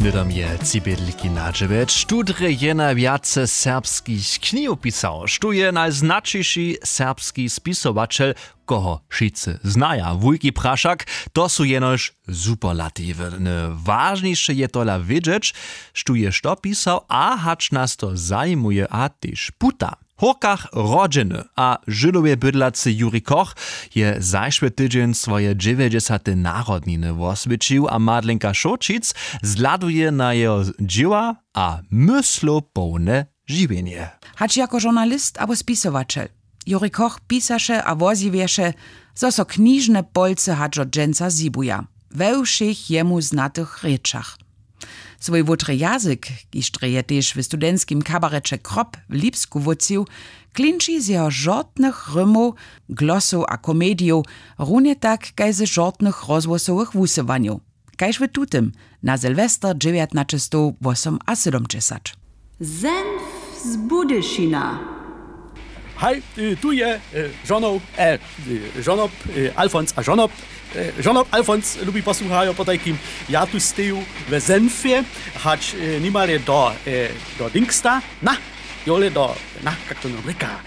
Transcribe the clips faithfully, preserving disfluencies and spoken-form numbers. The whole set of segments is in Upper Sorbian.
Hnydom je tři bědliki na dźewjeć tu drje jena wjace serbskich knihow pisał, štó je najznaćiši serbski spisowaćel, koho wšitcy znaja, wulki prašak. To su jenož superlatiwy. Wažniše je tola wědźeć, štó je što pisał a hač nas to zajimuje a tež puta. W hórkach rodźeny a žydowje bydlacy juri koch je zašły tydźeń swoje dźewjećdźesate narodniny woswěćił a madlenka šołćic zhladuje na jeho dźěła a myslow połne žiwjenje. Hač jako žurnalist abo spisowaćel, juri koch pisaše a wozjewješe, zo so knižne polcy hač do dźensa zhibuja we wšěch jemu znatych rěčach. Swój wótry jazyk, kiž drje je tež w studentskim kabareće krop w lipsku wótřił, klinči z jeho žortnych rymow, glosow a komedijow, runje tak kaž ze žortnych rozhłosowych wusyłanjow, kaž w tutym na sylwester dźewjatnaćestowwosomasydomdźesat. Zenf z Budyšina. Haj, tu je žonob alfons a žonob žonob alfons lubi posłuchajo potajkim. Ja tu steju we zenfje, hač nimale do do dingsta, na jole do na kak to nam rěka.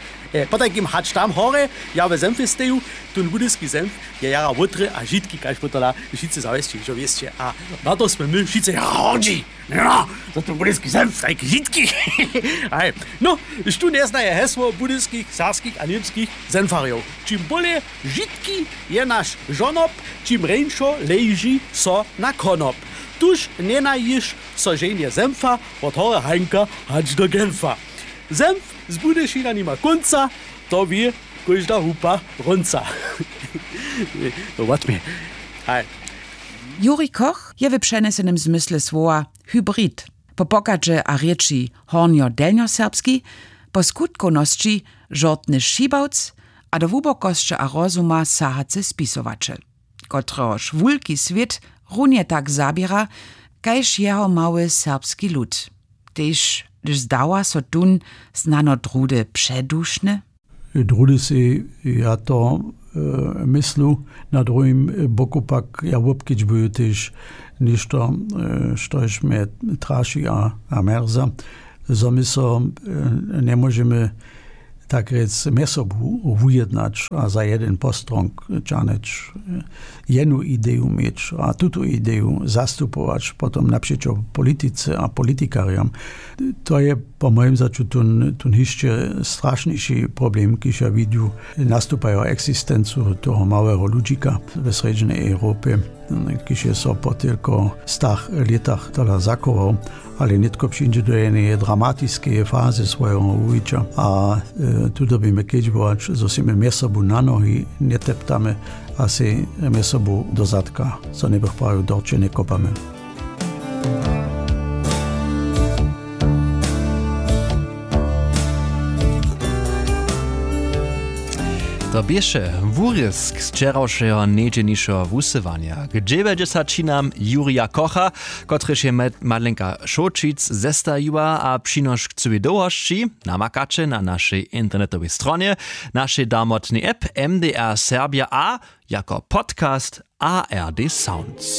Potajkim hač tam hore, ja we zenfje steju. Tón budyski zenf je jara wótry a žitki kaž pótola, wšitcy zawjesće hižo wěsće a na to smy my wšitcy jara hordźi. No, za to budyski zenf tajki žitki. Haj, no, štó njeznaje hesło budyskich serbskich a němskich zenfarjow? Čim bóle žitki je naš žonob, čim reńšo leži so na konop. Tuž njenajiš so ženje zenfa wot hore hańka hač do genfa. Zenf z budyšina nima kónca, to wě kóžda hupa rónca. Wotmje. Haj. Juri koch je w přenjesenym zmysle słowa hybrid, po pochadźe a rěči hornjodelnjoserbski, po skutkownosći žortny šibawc a do hłubokosće a rozuma sahacy spisowaćel, kotrehož wulki swět runje tak zaběra kaž jeho mały serbski lud, tež hdyž zdawa so tón snano druhdy předušny. Druhdy sej ja to myslu, na druhim boku pak ja wobkedźbuju tež něšto, štož mje traši a mjerza, zo my so njemóžemy tak rjec mjez sobu wujednać a za jedyn postrong ćahnyć, jenu ideju měć a tutu ideju zastupować potom napřećo politice a politikarjam. To je po mojim začu tón hišće strašniši problem, kiž ja widju, nastupajo eksistencu toho małeho ludźika we srjedźnej europje, kiž je so po tylko stach lětach tola zachował, ale nětko přińdźe do jeneje dramatiskeje fazy swojeho wuwića a tu dyrbimy kedźbować, zo sej my mjez sobu na nohi njeteptamy a sej mjez sobu do zadka, zo njebych prawił, dorće njekopamy. To běše wurězk z wčerawšeho njedźelnišeho wusyłanja k dźewjećdźesaćinam jurija kocha, kotryž je madlenka šołćic zestajiła a přinošk cyłej dołhosći namakaće na našej internetowej stronje, našej darmotnej app mdr serbja a jako podcast ard sounds.